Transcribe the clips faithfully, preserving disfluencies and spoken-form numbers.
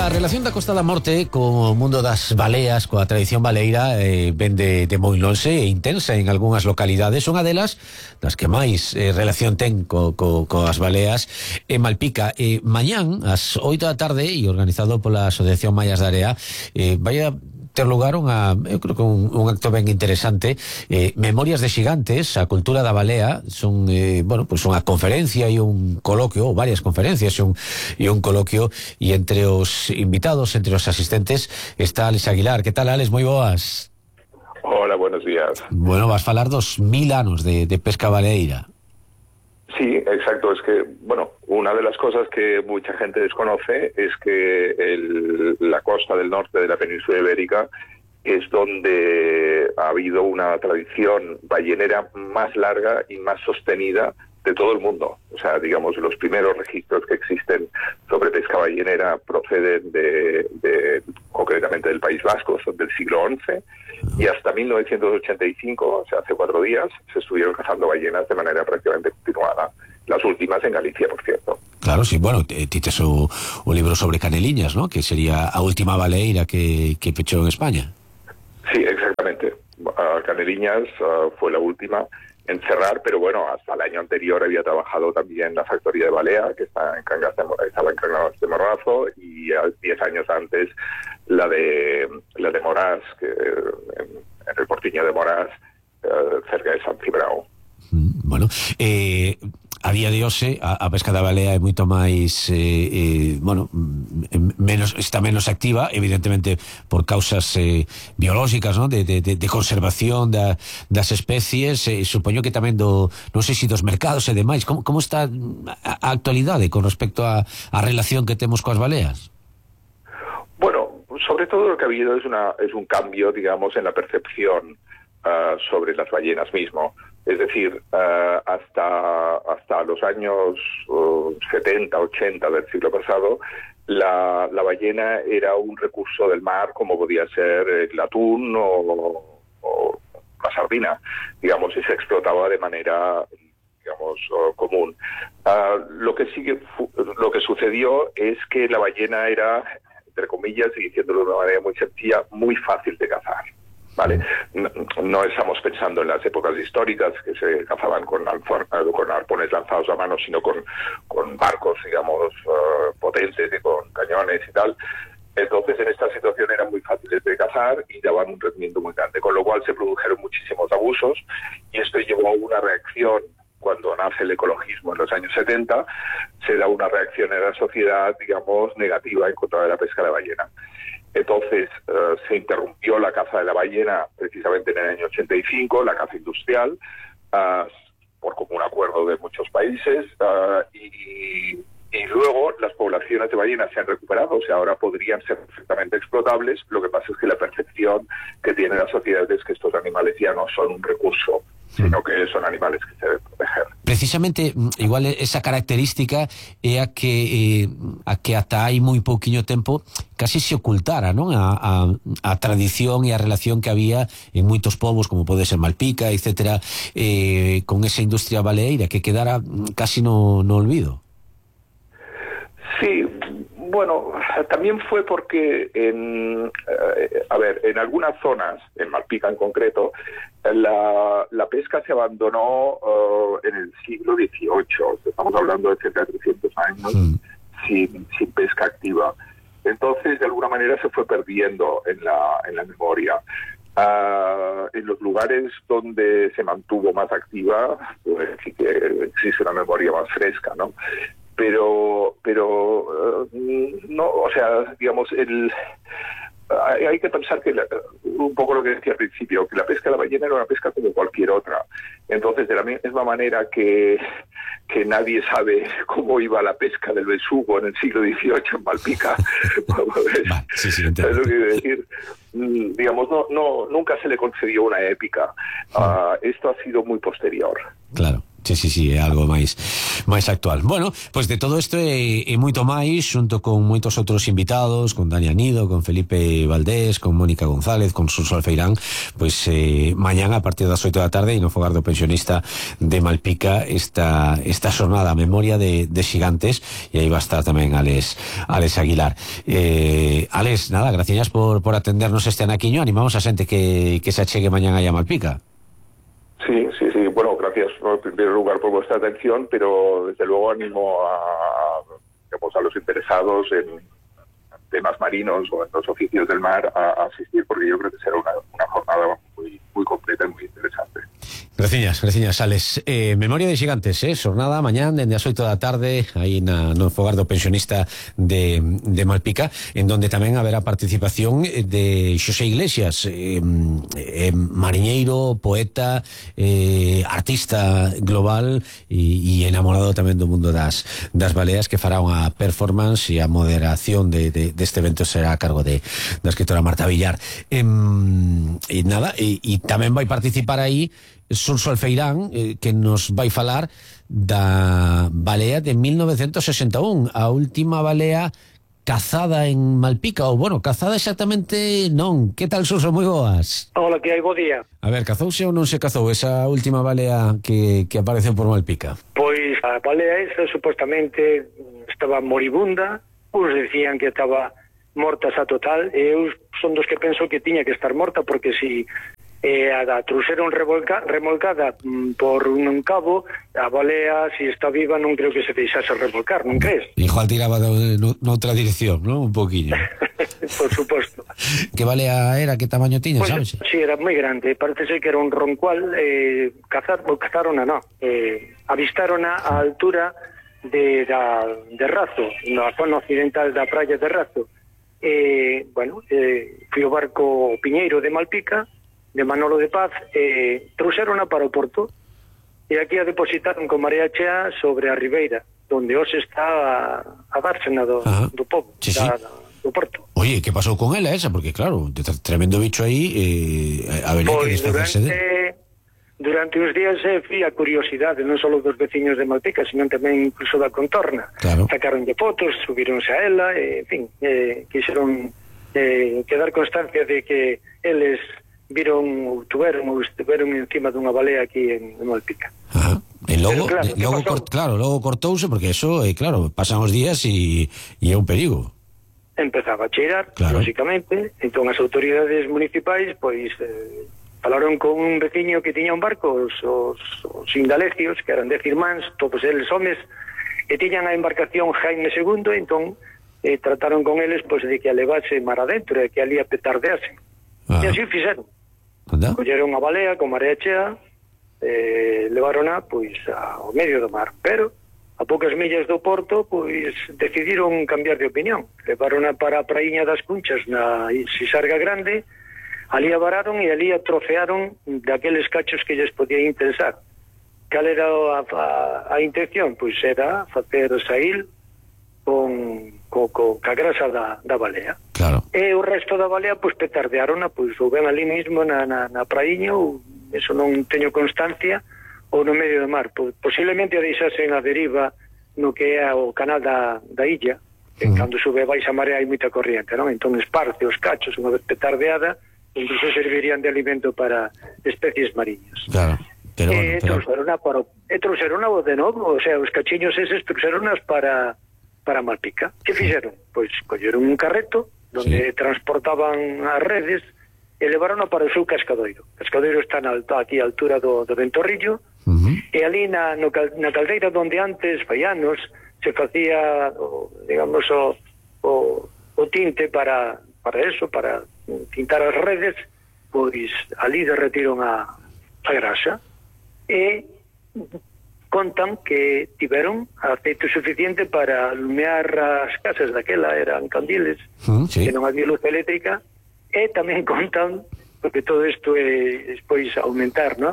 A relación da Costa da Morte co mundo das baleas, coa tradición baleira, eh, ven de, de moi lonxe e intensa en algunhas localidades. Unha delas das que máis eh, relación ten co, co, coas baleas é Malpica. Eh, mañán, ás oito da tarde, e organizado pola Asociación Maias da Area, eh, vai a ter lugar unha, eu creo que un, un acto ben interesante, eh, Memorias de Xigantes, a cultura da balea. Son, eh, bueno, pues unha conferencia e un coloquio, ou varias conferencias e un, e un coloquio, e entre os invitados, entre os asistentes, está Alex Aguilar. Que tal, Alex? Moi boas. Hola, buenos días. Bueno, vas falar dos mil anos de, de pesca baleeira. Sí, exacto. Es que, bueno, una de las cosas que mucha gente desconoce es que el, la costa del norte de la península ibérica es donde ha habido una tradición ballenera más larga y más sostenida de todo el mundo. O sea, digamos, los primeros registros que existen sobre pesca ballenera proceden de, de concretamente del País Vasco, son del siglo once, y hasta mil novecientos ochenta y cinco, o sea, hace cuatro días, se estuvieron cazando ballenas de manera prácticamente continuada. Las últimas en Galicia, por cierto. Claro, sí, bueno, tites o, o libro sobre Caneliñas, ¿no? Que sería a última baleeira que, que pechou en España. Sí, exactamente. Uh, Caneliñas uh, fue la última en cerrar, pero bueno, hasta el año anterior había trabajado también la factoría de Balea, que está en Cangas de, estaba en Cangas de Morrazo, y a diez años antes la de la de Morás, que en, en el Portiño de Morás, uh, cerca de San Cibrao. Bueno, eh, a día de hoxe a, a pesca da balea é moito máis eh, eh, bueno, menos, está menos activa, evidentemente por causas eh, biolóxicas, ¿no? de, de, de conservación da, das especies, eh, supoño que tamén do, non sei se dos mercados e demais. Como, como está a, a actualidade con respecto a, a relación que temos coas baleas? Bueno, sobre todo lo que ha habido es, una, es un cambio, digamos, en la percepción uh, sobre las ballenas mismo. Es decir, uh, hasta hasta los años uh, setenta, ochenta del siglo pasado, la, la ballena era un recurso del mar como podía ser el atún o, o la sardina, digamos, y se explotaba de manera, digamos, uh, común. Uh, lo que sigue, lo que sucedió es que la ballena era, entre comillas, y diciéndolo de una manera muy sencilla, muy fácil de cazar. ¿Vale? No, no estamos pensando en las épocas históricas que se cazaban con, alfor, con arpones lanzados a mano, sino con, con barcos, digamos, uh, potentes y con cañones y tal. Entonces, en esta situación eran muy fáciles de cazar y daban un rendimiento muy grande, con lo cual se produjeron muchísimos abusos, y esto llevó a una reacción. Cuando nace el ecologismo en los años setenta, se da una reacción en la sociedad, digamos, negativa en contra de la pesca de ballena. Entonces uh, se interrumpió la caza de la ballena precisamente en el año ochenta y cinco, la caza industrial, uh, por común acuerdo de muchos países, uh, y, y luego las poblaciones de ballenas se han recuperado, o sea, ahora podrían ser perfectamente explotables. Lo que pasa es que la percepción que tiene la sociedad es que estos animales ya no son un recurso, sino que son animales que se deben proteger. Precisamente, igual esa característica é a que eh, a que ata hai moi pouquiño tempo casi se ocultara, non? A, a, a tradición e a relación que había en moitos povos, como pode ser Malpica, etcétera, eh, con esa industria baleeira que quedara casi no, no olvido. Sí, bueno, también fue porque, en, eh, a ver, en algunas zonas, en Malpica en concreto, la, la pesca se abandonó uh, en el siglo dieciocho, estamos hablando de cerca de trescientos años, sí. sin, sin pesca activa. Entonces, de alguna manera se fue perdiendo en la, en la memoria. Uh, en los lugares donde se mantuvo más activa, pues sí que existe una memoria más fresca, ¿no? Pero, pero uh, no, o sea, digamos, el hay, hay que pensar que la, un poco lo que decía al principio, que la pesca de la ballena era una pesca como cualquier otra. Entonces, de la misma manera que, que nadie sabe cómo iba la pesca del besugo en el siglo dieciocho en Malpica, sí, sí, ¿sabes lo que quiero decir? Digamos, no, no, nunca se le concedió una épica. Uh, esto ha sido muy posterior. Claro. Sí, sí, sí, é algo máis máis actual. Bueno, pois pues de todo isto e, e moito máis, xunto con moitos outros invitados, con Dani Anido, con Felipe Valdés, con Mónica González, con Suso Alfeirán, pois pues, eh, mañán a partir das oito da tarde e no Fogar do Pensionista de Malpica esta esta xornada a memoria de, de xigantes, e aí va a estar tamén Alex, Alex Aguilar. Eh, Alex, nada, gracias por, por atendernos este anaquiño. Animamos a xente que, que se achegue mañán aí a Malpica. Sí, sí, sí. Bueno, gracias en primer lugar por vuestra atención, pero desde luego animo a, digamos, a los interesados en temas marinos o en los oficios del mar a, a asistir, porque yo creo que será una, una jornada muy, muy completa y muy interesante. Graciñas, graciñas, Alex. Eh, memoria de xigantes, eh? Xornada mañán dende as oito da tarde aí na, no Fogar do Pensionista de, de Malpica, en donde tamén haberá participación de Xosé Iglesias, eh, eh, mariñeiro, poeta, eh, artista global e, e enamorado tamén do mundo das, das baleas, que fará unha performance, e a moderación de, de, deste evento será a cargo de, da escritora Marta Villar. Eh, e nada, e, e tamén vai participar aí Suso Alfeirán, eh, que nos vai falar da balea de mil novecentos sesenta e un, a última balea cazada en Malpica, ou, bueno, cazada exactamente non. Que tal, Suso? Moi boas. Hola, que hai, bo día. A ver, cazouse ou non se cazou esa última balea que, que apareceu por Malpica? Pois a balea esa supostamente estaba moribunda, uns decían que estaba morta xa total, e eu son dos que penso que tiña que estar morta, porque si eh, a da truxeron revolca, remolcada mm, por un cabo, a balea, si está viva, non creo que se deixase remolcar, non crees? Igual tiraba noutra dirección, non? Un poquinho. Por suposto. Que balea era, que tamaño tiña, pues, sabes? Sí, era moi grande, parece ser que era un roncual, eh, cazar, ou cazarona, non, eh, avistarona a altura de, da, de Razo, na zona occidental da praia de Razo. Eh, bueno, eh, fui o barco Piñeiro de Malpica, de Manolo de Paz, eh, trouxerona para o porto, e aquí a depositaron con marea chea sobre a ribeira, donde hoxe está a, a dársena do, do povo, sí, da, sí. do porto. Oye, que pasou con ela esa? Porque claro, tremendo bicho aí, eh, habería pues que desfacerse durante, de... durante uns días eh, fui a curiosidade, non só dos veciños de Malpica, sino tamén incluso da contorna. Claro. Sacaron de fotos, subironse a ela, eh, en fin, eh, quixeron eh, quedar constancia de que eles viron ou tuveron ou estiveron encima dunha balea aquí en, en Malpica. Ajá. E logo, claro, logo cort, claro, logo cortouse, porque eso, eh, claro, pasan os días e, e é un perigo. Empezaba a cheirar, claro. lógicamente, entón as autoridades municipais pois eh, falaron con un veciño que tiña un barco, os, os, os indalecios, que eran dez irmáns, todos eles homes, e tiñan a embarcación Jaime segundo, entón eh, trataron con eles pois de que a levase mar adentro e que ali a petardease. Ah. E así fixeron. Anda? Colleron a balea con marea chea, eh, levarona pois ao medio do mar, pero a poucas millas do porto pois decidiron cambiar de opinión, levarona para a praíña das Cunchas na Sisarga Grande, ali a vararon e ali a trofearon daqueles cachos que lles podía interesar. Cal era a, a, a intención? Pois era facer saíl con, co, co, ca grasa da, da balea. Claro. E o resto da balea pois petardearon pois ou ben ali mismo na, na, na praíña, ou eso non teño constancia, ou no medio do mar. Posiblemente a deixasen a deriva no que é o canal da, da illa, que mm. cando sube baixa marea hai moita corriente, non? Entón esparce os cachos unha vez petardeada, incluso servirían de alimento para especies mariñas. Claro. Pero, e bueno, pero... trouxerona para e trouxerona de novo, o sea, os cachiños eses trouxeronas para para Malpica. Que fixeron? Pois colleron un carreto donde sí. transportaban as redes e levaron para o seu cascadoiro. O cascadoiro está na alta, aquí a altura do, do Ventorrillo, uh-huh. e ali na, no, na caldeira donde antes, fai anos, se facía, o, digamos, o, o, o tinte para, para eso, para tintar as redes, pois ali derretiron a, a grasa e contan que tiveron aceite suficiente para alumear as casas daquela, eran candiles, mm, sí. que non había luz eléctrica, e tamén contan, porque todo isto é despois aumentar, non?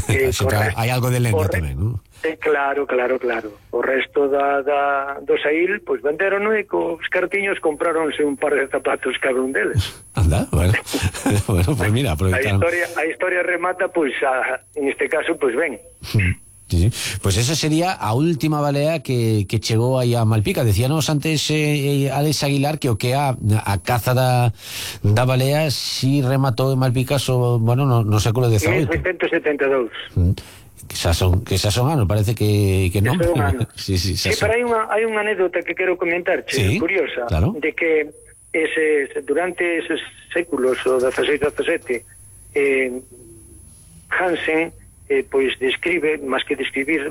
Eh, hai algo de lenda tamén, non? Eh, claro, claro, claro. O resto da, da, do saíl, pois venderon, e cos cartiños compráronse un par de zapatos cada un deles. Anda, bueno, bueno, pues mira, aproveitaron. A historia, a historia remata, pois, a, en este caso, pois ben. Sí, sí. Pues esa sería a última balea que, que chegou aí a Malpica. Decíanos antes eh, Alex Aguilar que o que a, a caza da, da balea si rematou en Malpica so, bueno, no, no século dezaoito. mil seiscentos setenta e dous. Mm. Que xa son, que xa son anos, parece que, que non. Sí, sí, sí, pero hai unha, hai unha anécdota que quero comentar, sí, curiosa, claro. De que ese, durante esos séculos, o dezasseis dezasete, eh, Hansen eh, pois describe, máis que describir,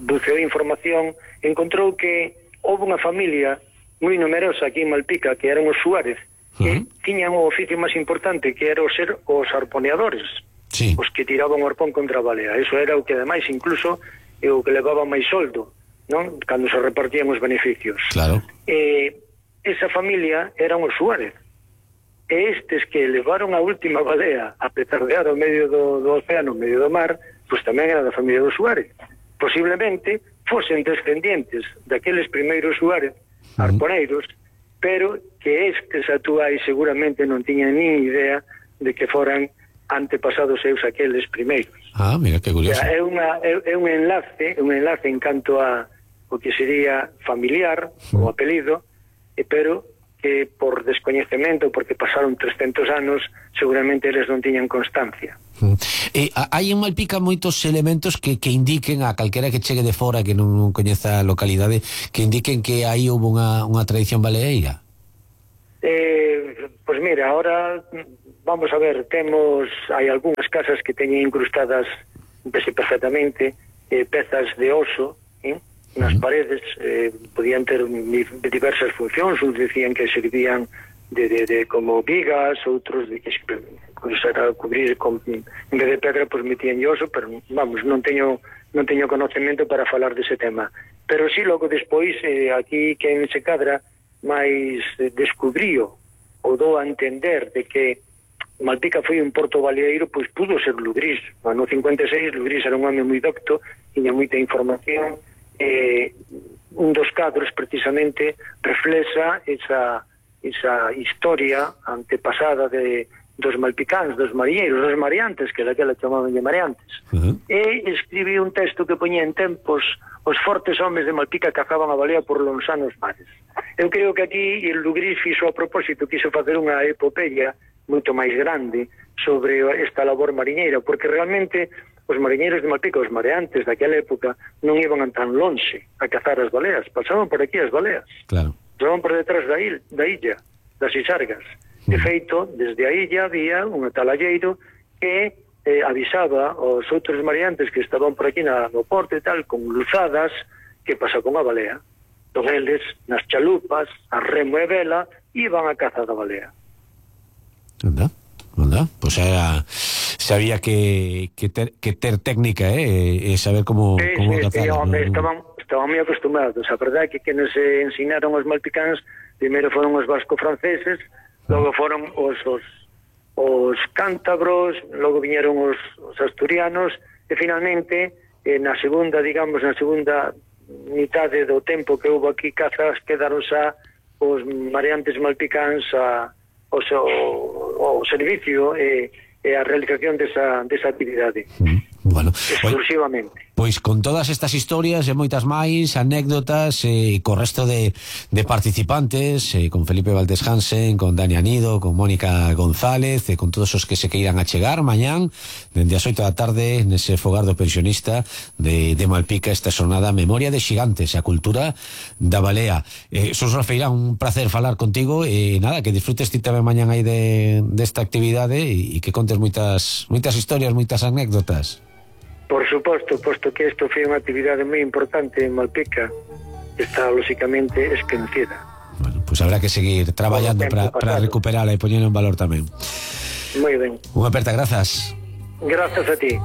buceou información, encontrou que houve unha familia moi numerosa aquí en Malpica, que eran os Suárez, que uh-huh. tiñan o oficio máis importante, que era o ser os arponeadores, sí. Os que tiraban o arpón contra a balea. Eso era o que ademais incluso é o que levaba máis soldo, non? Cando se repartían os beneficios. Claro. Eh, esa familia eran os Suárez. E estes que levaron a última balea a petardear ao medio do, do océano, ao medio do mar, pois tamén era da familia dos Suárez. Posiblemente fosen descendientes daqueles primeiros Suárez, arponeiros, uh-huh. pero que estes actuais seguramente non tiñan nin idea de que foran antepasados seus aqueles primeiros. Ah, mira, que curioso. O sea, é, unha, é, é un enlace, un enlace en canto a o que sería familiar, uh-huh. o apelido, e, pero que por descoñecemento, porque pasaron trescentos anos, seguramente eles non tiñan constancia. Mm. E hai en Malpica moitos elementos que, que indiquen a calquera que chegue de fora que non, non coñeza a localidade, que indiquen que aí houve unha, unha tradición baleeira. Eh, pois mira, ahora vamos a ver, temos, hai algunhas casas que teñen incrustadas, vese perfectamente, eh, pezas de oso, eh? nas paredes, eh, podían ter diversas funcións, uns decían que servían de, de, de como vigas, outros de que pues, era cubrir con, en vez de pedra, pues metían oso, pero vamos, non teño non teño conocemento para falar dese tema. Pero sí, logo despois, eh, aquí quen se cadra máis eh, descubrío ou dou a entender de que Malpica foi un porto baleeiro, pois pudo ser Lugrís. No ano cincuenta e seis, Lugrís era un home moi docto, tiña moita información. Eh, un dos cadros precisamente reflexa esa, esa historia antepasada de dos malpicáns, dos mariñeiros, dos mareantes, que daquela chamaban de mareantes. Uh-huh. E escribí un texto que poñía en tempos os fortes homes de Malpica cazaban a balea por lonxanos mares. Eu creo que aquí el Lugrís fixo a propósito, quiso facer unha epopeya moito máis grande sobre esta labor mariñeira, porque realmente os mariñeiros de Malpica, os mareantes daquela época, non iban tan lonxe a cazar as baleas, pasaban por aquí as baleas. Claro. Pasaban por detrás da, il, da illa, das Isargas. De feito, desde a illa había un atalalleiro que eh, avisaba aos outros mareantes que estaban por aquí na, no porto e tal, con luzadas, que pasa con a balea. Entón eles, nas chalupas, a remo e vela, iban a cazar a balea. Anda, anda, pois pues era... Sabía que, que, ter, que ter técnica, eh, e saber como, sí, como sí, cazar. Sí, home, no, estaban, estaban moi acostumbrados. A verdade é que quenes se ensinaron os malpicáns, primeiro foron os vasco-franceses, logo foron os, os, os cántabros, logo viñeron os, os asturianos, e finalmente, eh, na segunda, digamos, na segunda mitade do tempo que houve aquí cazas, quedaron xa os mareantes malpicáns a, o, o, o servicio e eh, e a realización desa, desa actividade. Bueno, exclusivamente. Pois con todas estas historias e moitas máis, anécdotas, e eh, co resto de, de participantes, eh, con Felipe Valdés Hansen, con Dani Anido, con Mónica González, e con todos os que se queiran achegar mañán, dende as oito da tarde, nese fogar do pensionista de, de Malpica, esta xornada Memoria de Xigantes, a cultura da balea. Eh, Sos Rafeirán, un placer falar contigo, e nada, que disfrutes ti tamén mañán aí de, desta actividade, e, e que contes moitas, moitas historias, moitas anécdotas. Por suposto, posto que isto foi unha actividade moi importante en Malpica, está lóxicamente esquecida. Bueno, pois pues habrá que seguir traballando para recuperala e poñer en valor tamén. Moi ben. Unha aperta, grazas. Grazas a ti.